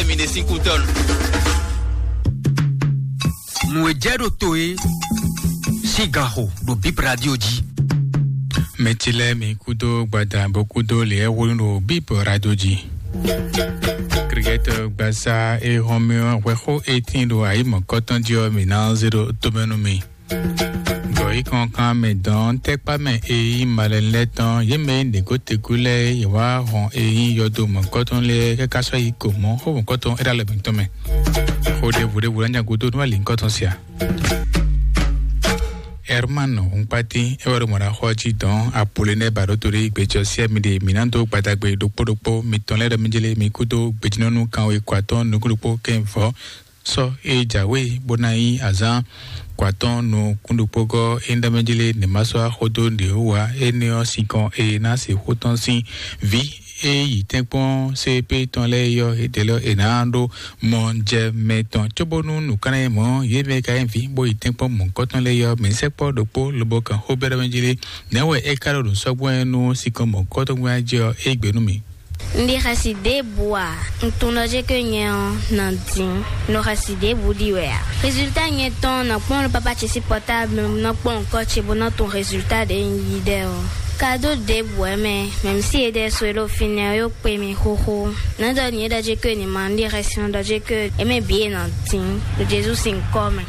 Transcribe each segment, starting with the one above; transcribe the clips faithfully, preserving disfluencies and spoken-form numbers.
Mi ɖe sín kútɔ́nu. Nǔ e jɛ ɖo to e sín gan xo ɖo Bib Radio jí. Mɛtilɛ mi kúdó gbada bó kúdó lě e hwenu ɖo Bib Radio jí. Krikɛtɔ gbasa e hɔn mi ɔ́, hwɛxó e tín ɖo ayǐ mɔ̌kɔtɔn jí ɔ́, mi ná zé ɖo tomɛ nú mi. Bɔ yi kɔnkan mɛ dɔn tɛkpa mɛ e yí malɛ lɛ tɔn yé mɛ nǐgótegó lɛ yě wá hɔn e yí yɔdo mɔ̌kɔtɔn lɛ káká sɔ́ yi ko mɔ̌ xó mɔ̌kɔtɔn é ɖo alɔ mǐtɔn mɛ. Xó ɖěvo ɖěvo ná nya gúdo nú alǐ ŋkɔtɔn sia. Herman Hunkpati é wɛ ɖo mɔ̌ ná xɔ jí dɔn apolonɛ ba ɖó to ɖé gbejɔ siɛ mi ɖe mǐ ná dó gbadagbe ɖokpó ɖokpó mitɔn lɛ́ɛ ɖɔ mí jélé mi kúdó gbejínɔ́nú kanwe kɔ atɔ́ nukún ɖokpó kɛ́n vɔ̌ sɔ́ e jǎwe bó ná nyí azǎn kɔ atɔ́ nukún ɖokpó gɔ́ é ná mɛ jélé nǐ má sɔ́ axó dó nǔɖé wú ǎ. Énɛ́ ɔ́, sinkɔn e ná se xó tɔn sín vǐ e yi tɛ́nkpɔ́n C P tɔn lɛ́ɛ yɔ́ édɛlɔ è nǎ ɖó mɔ jɛ mɛ tɔn cóbónú nǔkánná e mɔ̌ yě mɛ ka nyí vǐ bó yi tɛ́nkpɔ́n mɔ̌hunkɔtɔn lɛ́ɛ yɔ́ mɛ sɛkpɔ́ ɖokpó lobo kan xó bɛ́ ɖɔ mɛ jí lé. Nɛ̌ wɛ é ka ɖo nǔ sɔ́ gbɔn ɛ nú sinkɔn mɔ̌hunkɔtɔn gbɔn jí ɔ́? É gbe nú mì. Un ɖi xɛsi ɖěbǔ ǎ. Un tunwun ɖɔ jé ko nyɛ ɔ́ nɔ dín. Un ɖo xɛsi ɖěbǔ ɖi wɛ ǎ. Résultat nyɛ tɔn nɔ kplɔ́n ɖo papa ce sín portable mɛ, nɔ kpɔ́n nǔkɔ ce bó nɔ tunwun résultat ɖě un yí ɖɛ ɔ́. Kado ɖěbǔ wɛ mɛ, mɛ̌mísí e ɖɛ́ so e ɖo fínɛ́ ɔ́ yó kpe mì xóxó. Nɛ̌ ɖɔ nyɛ ɖɔ jé ko ni ma un ɖi xɛsi nɔ ɖɔ jé ko émɛ bǐ e nɔ dín ɖo Jezu sín nyǐkɔ mɛ.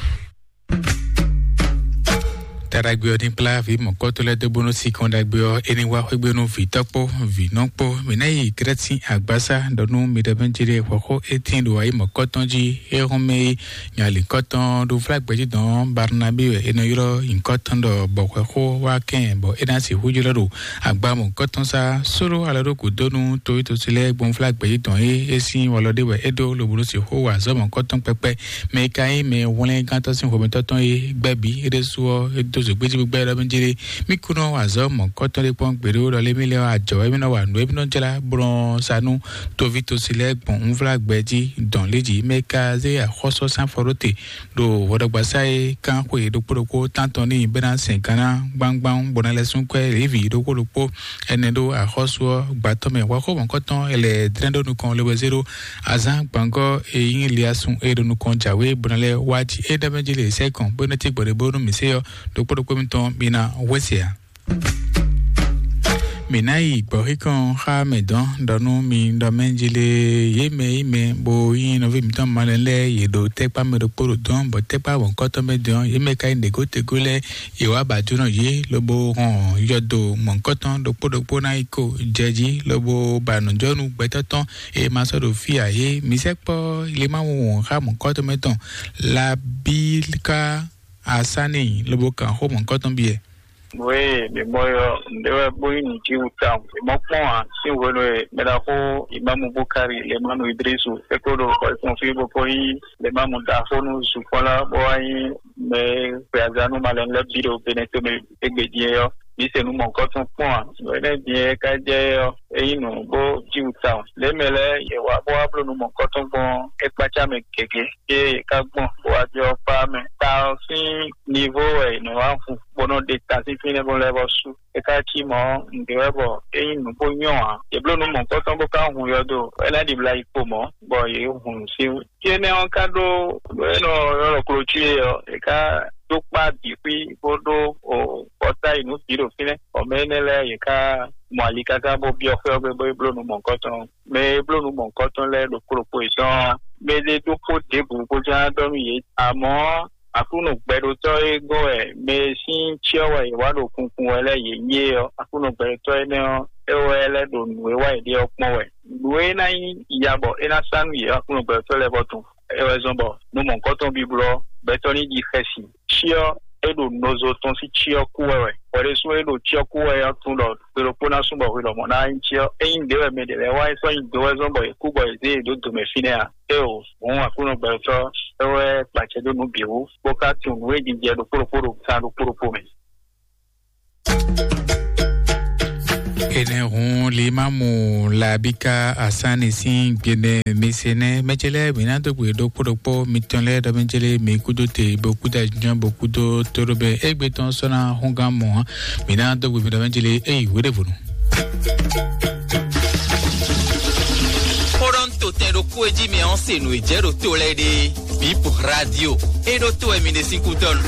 Taɖagbe ɔ́ ní kplá vǐ mɔ̌kɔ́tɔ́ lɛ́ɛ dó bónú sinkɔn ɖagbe ɔ́ é ní wá xwé gbe nú vǐtɔ́ kpó vǐnɔ kpó. Mǐ ná yi Grɛ́t sín agbásá ɖɔ nú mi ɖɔ mɛ jí ɖe hwɛxó étín ɖo ayǐ mɔ̌kɔ́tɔn jí é hɔn mɛ é. Nya lǐnkɔ́tɔn ɖo vlá gbɛ̌jidɔn Barnabé wɛ è nɔ ylɔ́ nyǐkɔ tɔn ɖɔ bɔ hwɛxó wá kɛn bɔ é ná sixú ylɔ́ ɖo agba mɔ̌kɔ́tɔn sá sóló alɔ ɖó gǔdo nú towítɔ́sí lɛ́ɛ gbɔn vlá gbɛ̌jidɔn é. É sín walɔ ɖé wɛ é ɖó lobo nú sixú wa azɔ̌ mɔ̌kɔ́tɔn kpɛkpɛ. Mɛ e ka nyí mɛ hwlɛ́ngántɔ́ sín xomɛtɔ́ tɔn é gbɛ́ bǐ é ɖésú ɔ́, é dó zǒgbéjí gbígbá é ɖɔ mɛ jí ɖé. Mí kún nɔ wa azɔ̌ mɔ̌kɔ́tɔn ɖé kpɔ́n gbeɖé ɖɔ lé mí lɛ́ ɔ́, ajɔ̌ wɛ mí nɔ wa nǔ e mí nɔ jlá bó nɔ sa nú toví tosi lɛ́ɛ gbɔn unvlágbɛ jí dɔn lě jí. Mɛ e ka zé axɔ́sú ɔ́ sín afɔ ɖó te ɖo hwɛɖɔgbasá e kán xwe ɖokpó ɖokpó tántɔn n'i bɛ́ ná sɛn gánná gbángbán bó ná lɛ́ sú kwɛ́ Levíi ɖokpó ɖokpó ɛnɛ ɖó axɔ́sú ɔ́ gbatɔ́ mɛ. Hwɛxó mɔ̌kɔ́tɔn è lɛ́ dlɛ́n ɖó nukɔn lobo zé ɖó azǎn gbǎngɔ́ e nyí Liasun e ɖo nukɔn jǎwe bó ná lɛ́ wá jí é ɖɔ mɛ jí lě sɛ́ kɔn bó nɔ́ cí gbɔ̌ɖe bónú mǐ se ɔ́, ɖokpó ɖokpó mitɔn mi ná hwesɛ ǎ. Mǐ ná yi gbɔ̌xíkɔn xá mɛ dɔn ɖɔ nú mi ɖɔ mɛ jí lé yě mɛ yí mɛ bó nyí nɔví mǐtɔn malɛ lɛ́ɛ yě ɖo tɛ́kpá mɛ ɖokpó ɖo dɔn bɔ tɛ́kpá wɔ̌nkɔ́tɔn mɛ dɔn yě mɛ ka nyí ɖěgótegó lɛ́ɛ yě wá ba jǒnɔ yě lobo hɔn yɔdo mɔ̌hunkɔtɔn ɖokpó ɖokpó ná yi ko jɛ jí lobo ba nǔjɔnú gbɛtɔ́ tɔn e ma sɔ́ ɖo fí ǎ é. Mǐ sɛkpɔ́ le Mawu wɔ̌n xá mɔ̌hunkɔtɔn mɛ tɔn Labilka Asani lobo kan xó mɔ̌hunkɔtɔn byɔ́. Nǔ e mǐ mɔ ɔ́, nǔɖé wɛ bó nyí nǔjíwǔ tawun. Mǐ mɔ kpɔ́n ǎ sín hwenu e mɛɖaxó Imámu Bukari Lemánu Idrisu é kó ɖo xɔ yětɔn fí bó kó nyí Lemámu ɖaxó nú zukpɔ́nlá bó wá nyí mɛ e xwe azǎn nú malɛnu lɛ́ɛ bǐ ɖo Benɛtomɛ égbé din é ɔ́, mǐ se nǔ mɔ̌hunkɔtɔn kpɔ́n ǎ. Nǔ énɛ́ din e ka jɛ é ɔ́, é nyí nǔ bó jíwǔ tawun. Lě mɛ lɛ́ɛ yě wá bó wá bló nǔ mɔ̌hunkɔtɔn gbɔn é kpácá mɛ gěgé. Yě ká gbɔn bó wá jɔ kpá mɛ. Ta ɔ́ sín nivo wɛ è nɔ wá hu bó nɔ ɖe ta sín fínɛ́ bó lɛ́ vɔ sú. É ká cí mɔ̌, nǔɖé wɛ bɔ é nyí nǔ bó nyɔ́ ǎ. Yě bló nǔ mɔ̌hunkɔtɔn bó ká hun yɔdo, é ná ɖibla yi kpo mɔ̌, bɔ yě hun nǔ sín. Fí énɛ́ ɔ́ ka ɖó nǔ e nɔ ylɔ́ ɖɔ klocí é ɔ́, è ká dó kpá bǐ xwí bó ɖó o kɔta yi nǔ bǐ ɖo fínɛ́. Bɔ mɛ énɛ́ lɛ́ɛ yě ká mɔ ali káká bó byɔ́ xwé ɔ́ gbe bó yi bló nǔ mɔ̌hunkɔtɔn. Mɛ e bló nǔ mɔ̌hunkɔtɔn lɛ́ɛ ɖo kplokpo yětɔn ɔ́, mɛ ɖé ɖokpó ɖěbǔ bó ján ɖɔ nú yě. Amɔ̌, Aklúnɔ gbɛɖótɔ́ e gɔ́n wɛ mɛ e sín cyɔ wɛ yě wá ɖo kunkun wɛ lɛ́ɛ yě nyí é ɔ́, Aklúnɔ gbɛɖótɔ́ énɛ́ ɔ́, é wɛ lɛ́ ɖo nǔ e wa yě ɖe ɔ́ kpɔ́n wɛ. Nǔ e ná nyí ya bɔ é ná sá nú yě ɔ́, Aklúnɔ gbɛɖótɔ́ lɛ́ɛ vɔ tunwun. É wɛ zɔ́n bɔ nú mɔ̌hunkɔtɔn bíblɔ́ gbɛtɔ́ ní ɖi xɛsi. Cyɔ é ɖo nɔzo tɔn sín cyɔ kú wɛ wɛ. Hwɛ ɖésú é ɖo cyɔ kú wɛ ɔ́ tunwun ɖɔ gbe ɖokpó ná sú bɔ hwe lɔmɔ̌ ná nyí cyɔ. Ényí nǔɖé wɛ mɛ ɖě lɛ́ɛ wa é sɔ́ nyi do wɛ zɔ́n bɔ yě kú bɔ yě zé yě dó do mɛ fínɛ́ ǎ. Éeǒ, hǔn Aklúnɔ gbɛtɔ́ é wɛ kpacɛ dó nǔ bǐ wú, bó ka tunwun nǔ e jijɛ ɖokpó ɖokpó ɖo gan ɖokpó ɖokpó mɛ. Ene hun limamu labika asani sin gbene misene mɛtsɛ lɛ mina do gbe ɖokpó ɖokpó mitɔn lɛ ɖɔ mɛtsɛ lɛ mi kudo te bo kudo ajɔ bo kudo toro bɛ egbe tɔn sɔna hun gan mɔ mina do gbe mi ɖɔ mɛtsɛ lɛ eyi wede vonu. Xó ɖɔ ń to tɛn ɖokpó Xó e jí mi ɔ́ se nǔ e jɛ ɖo to lɛ́ɛ ɖe. Bip Radio. E ɖo to wɛ mi ɖe sín kútɔ́nu.